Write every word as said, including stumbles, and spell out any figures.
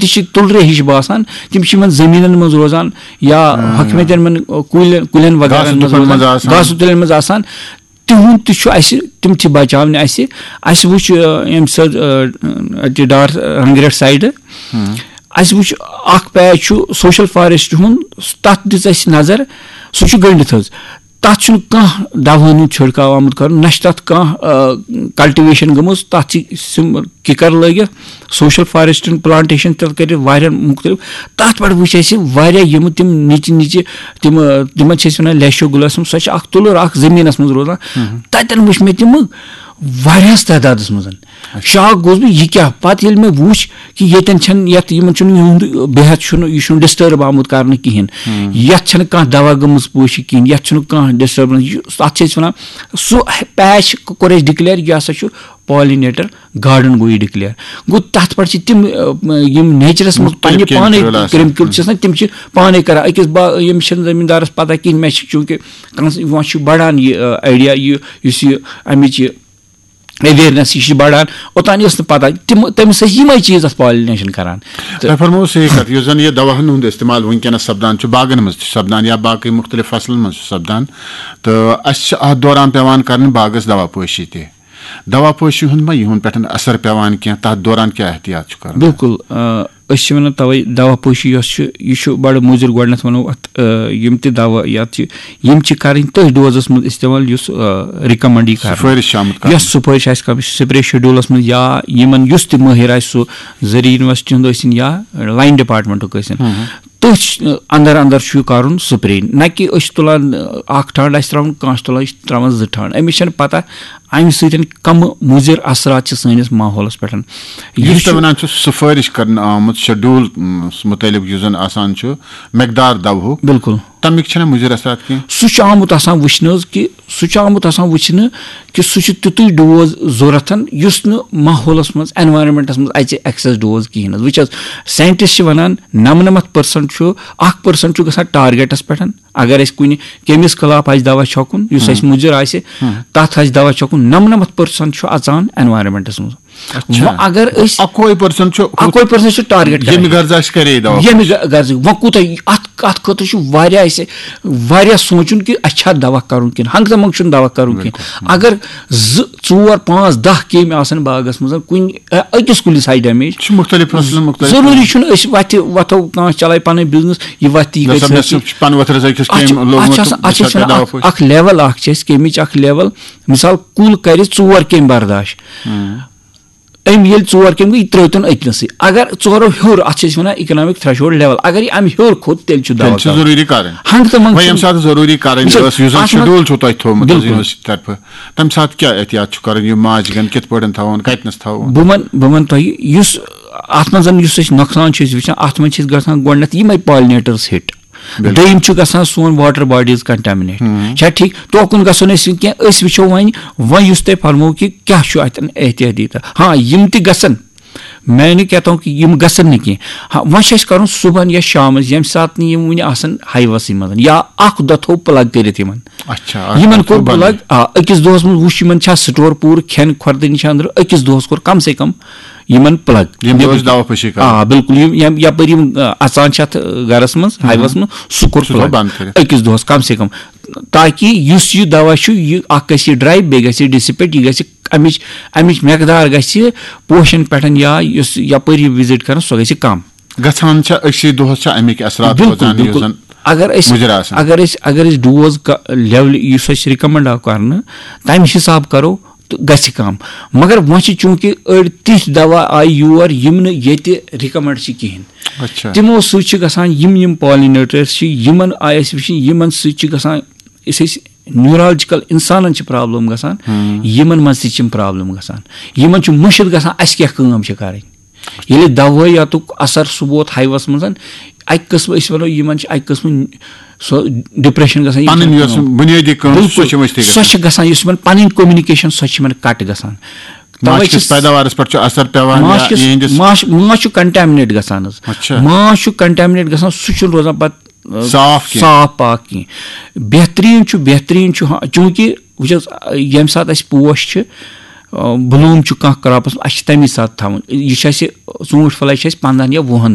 تہِ چھِ تُلرِ ہِش باسان، تِم چھِ یِمن زٔمیٖنن منٛز روزان یا ہۄکھمٕتٮ۪ن یِمن، آ، کُلٮ۪ن، کُلٮ۪ن وغیرہ گاسہٕ منٛز تُلن روزان، منٛز آسان۔ گاسہٕ تُلن منٛز آسان۔ تِہُنٛد تہِ چھُ اَسہِ، تِم تہِ بچاونہِ اَسہِ۔ اَسہِ وٕچھ، آ، ییٚمہِ ساتہٕ، آ، اَتہِ ڈار رنگریٹ سایڈٕ، اَسہِ وٕچھ اکھ پیچ چھُ سوشل فارسٹ ہُنٛد، تَتھ دِژ اَسہِ نظر، سُہ چھُ گٔنڈِتھ حظ۔ تَتھ چھُنہٕ کانٛہہ دَوہَن ہُنٛد چھِڑکاو آمُت کَرُن، نہ چھِ تَتھ کانٛہہ، آ، کلٹیویشن گٔمٕژ، تَتھ چھِ سِم کِکر لٲگِتھ، سوشل فارسٹن پلانٹیشن تہِ کٔرِتھ واریاہن مُختٔلِف۔ تَتھ پٮ۪ٹھ وٕچھ اَسہِ واریاہ یِم تِم نِچہِ نِچہِ تِم، آ، تِمن چھِ أسۍ وَنان لیشو گلاسم، سۄ چھِ اَکھ تُلُر اَکھ زٔمیٖنَس منٛز روزان۔ تَتٮ۪ن وٕچھ مےٚ تِم واریاہَس تعدادَس منٛز۔ شاک گوس بہٕ، یہِ کیٛاہ؟ پَتہٕ ییٚلہِ مےٚ وُچھ کہِ ییٚتٮ۪ن چھَنہٕ، یَتھ یِمَن چھُنہٕ یِہُنٛد بِہَتھ چھُنہٕ، یہِ چھُنہٕ ڈِسٹٲرٕب آمُت کَرنہٕ کِہیٖنۍ، یَتھ چھَنہٕ کانٛہہ دَوا گٔمٕژ پٲشی کِہیٖنۍ، یَتھ چھُنہٕ کانٛہہ ڈِسٹٲربَنس۔ یہِ، اَتھ چھِ أسۍ وَنان، سُہ پیچ کوٚر اَسہِ ڈِکلیئر، یہِ ہسا چھُ پالینیٹر گارڈن گوٚو یہِ ڈِکلیئر۔ گوٚو، تَتھ پٮ۪ٹھ چھِ تِم، آ، یِم نیچرَس منٛز مُختٔلِف پَنٕنہِ پانَے کیمِکل آسان۔ کیمِکل چھِ آسان، تِم چھِ پانَے کران۔ أکِس با-، ییٚمِس چھِنہٕ زٔمیٖندارَس پَتہ کِہیٖنۍ، مےٚ چھِ چوٗنٛکہِ کانٛہہ وۄنۍ چھُ بَڑان یہِ، آ، آیڈیا، یہِ یُس یہِ اَمِچ یہِ اویرنس، یہِ چھِ بڑان۔ اوٚتام ٲس نہٕ پتہ، تِم، تٔمِس ٲسۍ یِمے چیٖز اتھ پالینیشن کران۔ تہٕ تۄہہِ فرموو صحیح کتھ، یُس زن یہِ دواہن ہُنٛد استعمال وٕنکیٚنس سپدان چھُ، باغن منٛز تہِ چھُ سپدان یا باقٕے مُختٔلِف فصلن منٛز چھُ سپدان، تہٕ اسہِ چھِ اتھ دوران پٮ۪وان کرٕنۍ باغس دوا پٲشی تہِ۔ دوا پٲشی ہُنٛد ما یِہُنٛد پٮ۪ٹھ اثر پٮ۪وان کینٛہہ؟ تتھ دوران کیٛاہ احتیاط چھُ کرُن؟ بِلکُل، آ، أسۍ چھِ وَنان تَوَے دوا پٲشی یۄس چھِ، یہِ چھُ بَڑٕ مُضِر۔ گۄڈٕنٮ۪تھ وَنو اَتھ، آ، یِم تہِ دوا یَتھ چھِ، یِم چھِ کَرٕنۍ تٔتھۍ ڈوزَس منٛز استعمال یُس، آ، رِکَمنٛڈٕے کَرنہٕ، سُفٲرِش چھِ آمُت کَرنہٕ۔ یۄس سُفٲرِش آسہِ کَرٕنۍ، سُہ سِپرے شیڈیوٗلَس منٛز یا یِمَن یُس تہِ مٲہِر آسہِ، سُہ زرعی یونیورسِٹی ہُنٛد ٲسِن یا لایِن ڈِپارٹمنٹُک ٲسِن، تٔتھۍ اَندَر اَندَر چھُ یہِ کَرُن سُپرے، نہ کہِ أسۍ چھِ تُلان، آ، اَکھ ٹھانٛڈ آسہِ ترٛاوُن، کانٛہہ چھُ تُلان، أسۍ چھِ ترٛاوان زٕ ٹھانٛڈ۔ أمِس چھَنہٕ پَتہ اَمہِ سۭتۍ کَمہٕ مُضِر اثرات چھِ سٲنِس ماحولَس پٮ۪ٹھ۔ یُس یہِ تۄہہِ چھُ وَنان چھُ سُفٲرِش کرنہٕ آمُت شیڈول، م، مُتعلِق یُس زَن آسان چھُ مقدار دَوہُک، بِلکُل۔ تَمِکۍ چھِنہٕ مُضِر اثرات کینٛہہ؟ سُہ چھُ آمُت آسان وٕچھنہٕ حظ کہِ، سُہ چھُ آمُت آسان وٕچھنہٕ کہِ سُہ چھُ تیُتُے ڈوز ضوٚرَتھ یُس نہٕ ماحولَس منٛز، انوائرمنٹَس منٛز اَژِ ایکسیس ڈوز کِہیٖنۍ حظ۔ وٕچھ حظ، سائنٹسٹ چھِ وَنان نَمنَمَتھ پٔرسنٹ چھُ، اَکھ پٔرسنٹ چھُ گژھان ٹارگیٹَس پٮ۪ٹھ، اگر اَسہِ کُنہِ کیٚمِس خلاف آسہِ دوا چھۄکُن، یُس اَسہِ مُضِر آسہِ، تَتھ آسہِ دوا چھۄکُن، نَمنَمَتھ پٔرسنٹ چھُ اَژان انوائرمنٹَس منٛز۔ اچھا۔ وۄنۍ اگر أسۍ اکوے پٔرسنٹ چھُ ہُتھ اکوے پٔرسنٹ چھُ ٹارگیٹ کران۔ ییٚمہِ غرضہٕ اَسہِ کرے دوا۔ ییٚمہِ غ-، غرضہٕ۔ وۄنۍ کوٗتاہ یہِ-، اَتھ، اَتھ خٲطرٕ چھُ واریاہ اَسہِ واریاہ سونٛچُن کہِ اَسہِ چھا دوا کَرُن کِنہٕ، ہنٛگتہٕ منٛگہٕ چھُنہٕ دوا کَرُن کِنہٕ۔ بِلکُل۔ اگر زٕ، ژور، پانٛژھ، دَہ کیٚمۍ آسَن باغَس منٛز، کُنہِ، اَ-، أکِس کُلِس آسہِ ڈیمیج، چھُ مُختٔلِف فصلَن مُختٔلِف۔ ضروٗری چھُنہٕ أسۍ وَتھِ وَتھو، کانٛہہ چلایہِ پَنٕنۍ بِزنِس، یہِ وَتھِ یہِ نہ گژھِ سا، مےٚ نہٕ سُہ چھُ پَنہٕ ؤتھرَس أکِس اَتھ چھِ، کیٚمۍ لوٚگمُت اَتھ چھِ آسان، تہٕ اَتھ چھِ بہٕ أسۍ چھُسا وَنان کَرٕ دوا اَکھ، پٲشی؟ اَکھ لیول اَکھ چھِ اَسہِ کیٚمِچ اَکھ لیول۔ مثال، کُل کَرِ ژور کیٚمۍ برداش۔ ہاں۔ أمۍ ییٚلہِ ژور کیٚمۍ گٔے، یہِ ترٛٲوتَن أکۍنَسٕے۔ اگر ژورو ہیوٚر، اَتھ چھِ أسۍ وَنان economic threshold level، اگر یہِ اَمہِ ہیوٚر کھوٚت، تیٚلہِ چھُ دوا تیٚلہِ چھُ کَرُن۔ ضروٗری کَرٕنۍ۔ ہنٛگتہٕ منٛگہٕ وۄنۍ ییٚمہِ چھُنہٕ ساتہٕ ضروٗری کَرٕنۍ وٕچھ حظ، ٲس، یُس زَن اَتھ منٛز شیڈول چھُو تۄہہِ تھوٚومُت حظ بِلکُل۔ یونیورسٹی طرفہٕ، تَمہِ ساتہٕ کیٛاہ احتیاط چھُ کَرُن؟ یِم ماچھ گَن کِتھ پٲٹھۍ تھاوُن، کَتِنَس تھاوُن؟ بہٕ وَنہٕ، بہٕ وَنہٕ تۄہہِ، یُس اَتھ منٛز یُس أسۍ نۄقصان چھِ أسۍ وٕچھان، اَتھ منٛز چھِ أسۍ گژھان گۄڈٕنٮ۪تھ یِمَے پالِنیٹٲرٕس ہِٹ۔ بِلکُل۔ دوٚیِم چھُ گژھان سون واٹر باڈیٖز کنٹیمنیٹ۔ ہُم۔ چھا ٹھیٖک؟ توکُن گژھو نہٕ أسۍ وٕنہِ کینٛہہ۔ أسۍ وٕچھو وۄنۍ، وۄنۍ یُس تۄہہِ فرموو کہِ کیٛاہ چھُ اَتٮ۪ن احتیاطی تہٕ، ہاں، یِم تہِ گژھن۔ میں نہٕ کہتا ہوں کہِ یِم گژھن نہٕ کینٛہہ۔ ہاں، وۄنۍ چھُ اَسہِ کَرُن صُبحن یا شامَس، ییٚمہِ ساتہٕ نہٕ یِم وٕنہِ آسَن ہاے وَسٕے منٛز، یا اَکھ دۄہ تھوٚو پٕلگ کٔرِتھ یِمَن۔ اچھا، اَکھ یِمَن دۄہ کوٚر تھوٚو بنٛد۔ پٕلگ، آ، أکِس دۄہَس منٛز وٕچھ یِمَن چھا سٹور پوٗرٕ، کھٮ۪ن کھۄردٲنی چھا أنٛدرٕ، أکِس دۄہَس کوٚر کم سے کم یِمَن پٕلگ۔ ییٚمہِ دۄہ أسۍ دوا پھٔشی کَرو۔ آ، بِلکُل، یِم، یِم یَپٲرۍ یِم، آ، اَژان چھِ اَتھ گَرَس منٛز، ہُم۔ ہاے وَس منٛز، سُہ کوٚر سُہ تھوٚو پٕلگ۔ بنٛد کٔرِتھ۔ أکِس دۄہَس کم سے کم، تاکہِ یُس یہِ دوا چھُ، یہِ اَکھ گژھِ یہِ ڈراے، بیٚیہِ گژھِ یہِ ڈِسِپیٹ، یہِ گژھِ اَمِچ، اَمِچ مقدار گژھِ پوشَن پٮ۪ٹھ یا یُس یَپٲرۍ یہِ وِزِٹ کَران، سۄ گژھِ کَم۔ گژھان چھا أکسٕے دۄہَس چھا اَمِکۍ اثرات بِلکُل، روزان، یُس بِلکُل۔ زَن اگر أسۍ، مُضِر آسان؟ اگر أسۍ، اگر أسۍ ڈوز ڈیولہِ یُس اَسہِ رِکَمنڈ آو کَرنہٕ، تَمہِ حِساب کَرو، تہٕ گژھِ کَم۔ مگر وۄنۍ چھِ چوٗنٛکہِ أڑۍ تِتھۍ دوا آیہِ یور یِم نہٕ ییٚتہِ رِکَمنڈ چھِ کِہیٖنۍ۔ اچھا۔ تِمو سۭتۍ چھِ گژھان یِم، یِم پالِنیٹٲرٕس چھِ، یِمَن آیہِ اَسہِ وٕچھِنۍ، یِمَن سۭتۍ چھِ گژھان، یُس أسۍ نیوٗرالجِکَل اِنسانَن چھِ پرابلم گژھان، ہُم۔ یِمَن منٛز تہِ چھِ یِم پرابلم گژھان۔ یِمَن چھُ مٔشِتھ گژھان اَسہِ کیٛاہ کٲم چھِ کَرٕنۍ۔ ییٚلہِ دَوہَے یَتُک اثر سُہ ووت ہاے وَس منٛز، اَکہِ قٕسمہٕ أسۍ وَنو یِمَن چھِ اَکہِ قٕسمہٕ سُہ ڈِپریشن گژھان، یہِ پَنٕنۍ چھَنہٕ یۄس کٲم۔ بُنیٲدی کٲم، سۄ بِلکُل۔ چھِ ؤستٕے سۄ گژھان۔ چھِ گژھان، یُس یِمَن پَنٕنۍ کمیونِکیشن، سۄ چھِ یِمَن کَٹ گژھان۔ تَوَے ماچھ کِس چھِ پیداوارَس پٮ۪ٹھ چھُ اثر پٮ۪وان یا ماچھ کِس، یِہِنٛدِس ماچھ، ماچھ چھُ کنٹیمنیٹ گژھان حظ۔ اچھا۔ ماچھ چھُ کنٹیمنیٹ گژھان، سُہ چھُنہٕ روزان پَتہٕ، آ، صاف کینٛہہ۔ صاف پاک کینٛہہ۔ بہتریٖن چھُ، بہتریٖن چھُ، ہاں، چوٗنٛکہِ وٕچھ حظ، ییٚمہِ ساتہٕ اَسہِ پوش چھِ، بلوٗم چھُ کانٛہہ کراپس، اَسہِ چھِ تَمی ساتہٕ تھاوُن۔ یہِ چھُ اَسہِ، ژوٗنٛٹھۍ پھلَے چھِ اَسہِ پنٛدہَن یا وُہَن